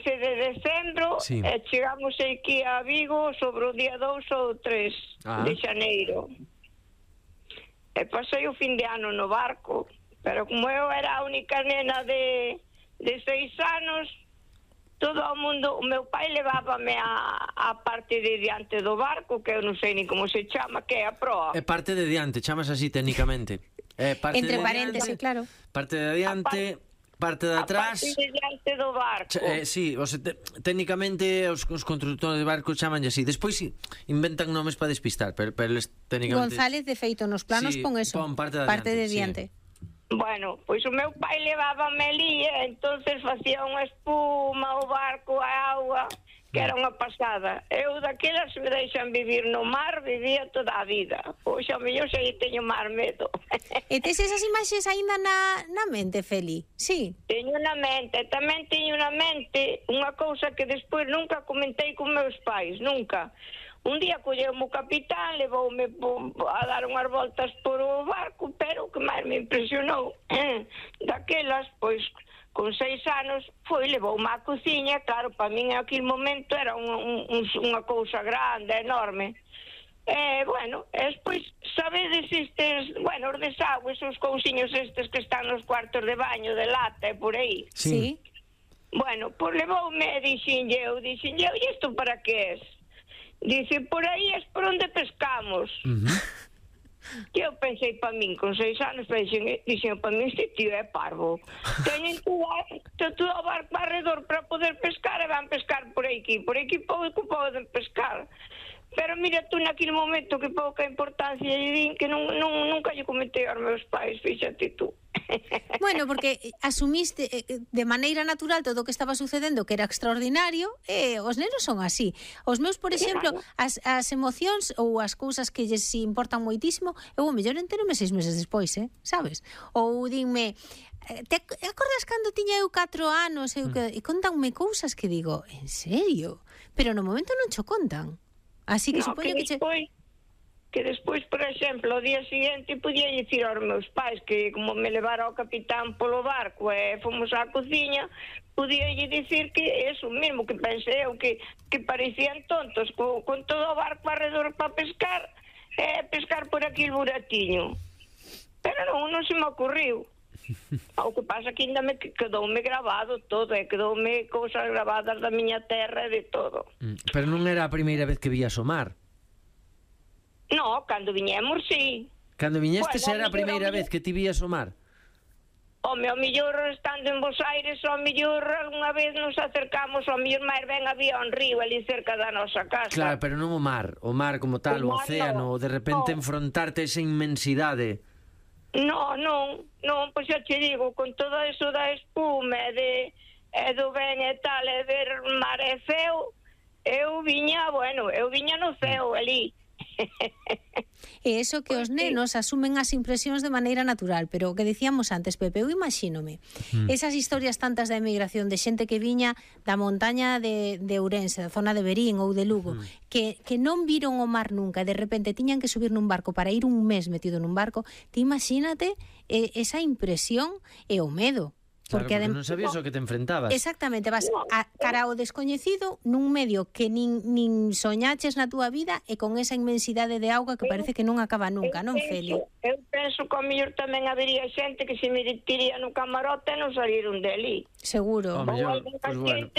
15 de decembro e chegamos aquí a Vigo sobre o día 2 ou 3 de xaneiro. E pasei o fin de ano no barco, pero como eu era a única nena de 6 anos, todo o mundo, o meu pai levábame a parte de diante do barco, que eu non sei ni como se chama, que é a proa. É parte de diante, chamas así técnicamente. Entre paréntesis, claro. Parte de diante, parte de atrás. A parte de diante do barco. Sí, técnicamente os constructores de barcos chamanlle así. Despois inventan nomes para despistar, pero técnicamente González, de feito, nos planos pon eso, pon parte de diante. Bueno, pois o meu pai levábame ali e entonces facía unha espuma, o barco, a auga, que era unha pasada. Eu daquelas me deixan vivir no mar, vivía toda a vida. Pois ao mellor xa teño mar medo. E tes esas imaxes aínda na mente, Feli? Sí. Teño na mente, tamén teño na mente unha cousa que despois nunca comentei con meus pais, nunca. Un día colleume o capitán, levoume a dar unhas voltas por o barco, pero o que máis me impresionou daquelas, pois, con 6 anos, levoume á cociña. Claro, para min en aquel momento era unha cousa grande, enorme. Bueno, despois, sabedes estes, os desagües, os cousiños estes que están nos cuartos de baño, de lata e por aí? Sí. Bueno, pois levoume e dixenlle eu, e isto para que es? Dice, por aí es por onde pescamos. Que eu pensei para min, con 6 anos, dixen para min, este tío é parvo. Teñen todo o barco alrededor para poder pescar e van pescar por aquí pouco poden pescar. Pero mira tú naquele momento que pouca importancia lle din, que nunca lle comentei aos meus pais, fíxate tú. Bueno, porque asumiste de maneira natural todo o que estaba sucedendo, que era extraordinario, e os nenos son así. Os meus, por exemplo, as emocións ou as cousas que lles importan moitísimo, eu o mellor enterome 6 meses despois, sabes? Ou dinme, te acordas cando tiña eu 4 anos e contanme cousas que digo, en serio? Pero no momento non cho contan. Así que supoño que despois, por exemplo, o día seguinte podía dicir aos meus pais que como me levara o capitán polo barco e fomos á cociña, podía dicir que eso mesmo, que pensei eu que parecían tontos con todo o barco alrededor para pescar por aquí el buratiño. Pero non se me ocurriu. O que pasa que ainda me quedoume grabado todo, quedoume cousas grabadas da miña terra e de todo. Pero non era a primeira vez que vías o mar? No, cando viñemos, sí. Cando viñestes era a primeira vez que ti vías o mar? O mellor estando en Bos Aires, o mellor algunha vez nos acercamos, o mellor máis ben había un río ali cerca da nosa casa. Claro, pero non o mar como tal, o océano, de repente enfrontarte esa inmensidade. Non, pois xa te digo, con todo eso da espuma e do ben e tal, e ver mar e feo, eu viña no ceo ali. E eso que os nenos asumen as impresións de maneira natural, pero o que decíamos antes, Pepe, eu imagínome esas historias tantas da emigración de xente que viña da montaña de Ourense, da zona de Verín ou de Lugo, que non viron o mar nunca e de repente tiñan que subir nun barco para ir un mes metido nun barco. Ti imagínate esa impresión e o medo. Claro, porque non sabías o que te enfrentabas. Exactamente, vas cara ao descoñecido nun medio que nin soñaches na túa vida e con esa inmensidade de auga que parece que non acaba nunca, non, Feli? Eu penso que ao mellor tamén habería xente que se metiría no camarote e non saliron deli. Seguro. Ao mellor, pois bueno.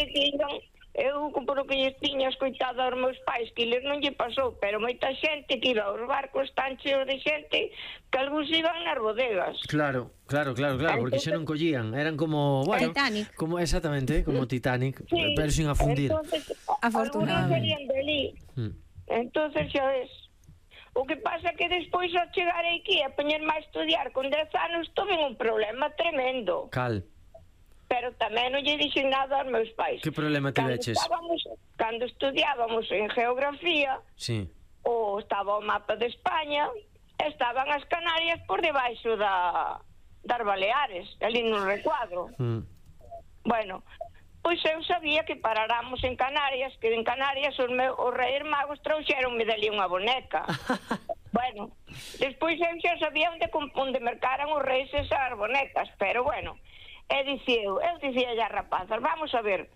Eu, por o que lles tiña escoitado aos meus pais, que eles non lle pasou, pero moita xente que iba aos barcos tan cheos de xente que algúns iban nas bodegas. Claro, porque xa non collían, eran como, Titanic. Exactamente, como Titanic, sí, pero sin afundir. Afortunadamente. Entonces xa ves. O que pasa que despois ao chegar aquí a poñerme a estudiar con 10 anos tuve un problema tremendo. Cal? Pero tamén non lle dixen nada aos meus pais. Que problema tiveches? Cando estudiábamos en geografía, ou estaba o mapa de España, estaban as Canarias por debaixo das Baleares, ali no recuadro. Bueno, pois eu sabía que paráramos en Canarias, que en Canarias os Reis Magos trouxeronme dali unha boneca. Bueno, despois eu xa sabía onde mercaran os reis esas bonecas, pero bueno, eu dicía as rapazas, vamos a ver,